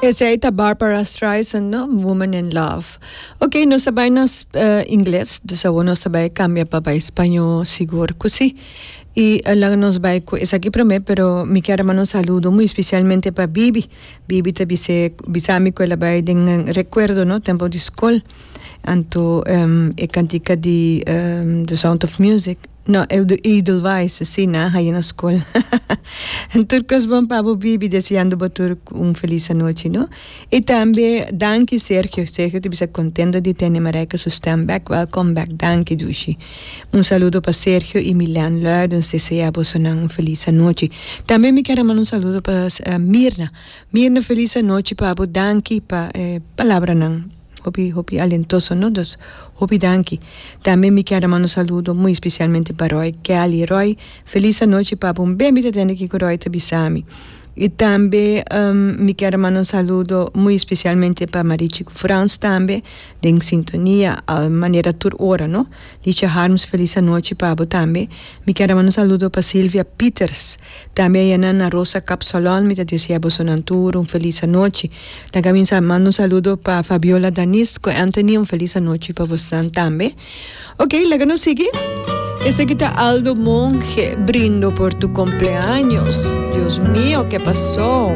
Esei ta Barbara Streisand, no? Woman in Love. Ok, nos ta bai na ingles, dus awor nos ta bai cambia pa bai spañó, sigur cu si. Y laga nos bai cu esaki prome, pero mi kier a manda un saludo muy especialmente pa Bibi. Bibi ta bis'é, bisa mi cu el a bai den recuerdo, no, tempo di scol. Anto e cantica di The Sound of Music. No, el di Edelweiss, si, nan a haya na skol. Tur kos bon pa bo bibi, deseando bo tur un felis anochi, no? I tambe danki Sergio, Sergio ta bisa kontento di tene Marijke su stem bek, welkom bek, danki dushi. Un saludo pa Sergio i Milen Luidens, desea bosonan un felis anochi. Tambe mi kier a manda un saludo pa Mirna, Mirna felis anochi pa bo, danki pa e palabranan. Hopi hopi alentoso no dus hopi danki. Tambe mi kier a manda un saludo muy especialmente pa Roy Kelly. Roy feliz anochi pa bo. Un ben mi ta tende kiko Roy ta bisa mi. Y tambe mi kier a manda un saludo muy especialmente pa Marichi cu Frans tambe den sintonia al manera tur ora no. Licha Harms feliz anochi pa bo tambe. Mi kier a manda un saludo pa Silvia Pieters. Tambe ayanan na Rosa Kapsalon mi ta desea bosonan tur un feliz anochi. Ta caminsa manda un saludo pa Fabiola Danis cu Anthony un feliz anochi pa bosnan tambe. Ok, laga nos sigui. Esaki ta Aldo Monge, brindo por tu cumpleaños. Dios mio, ke pasó?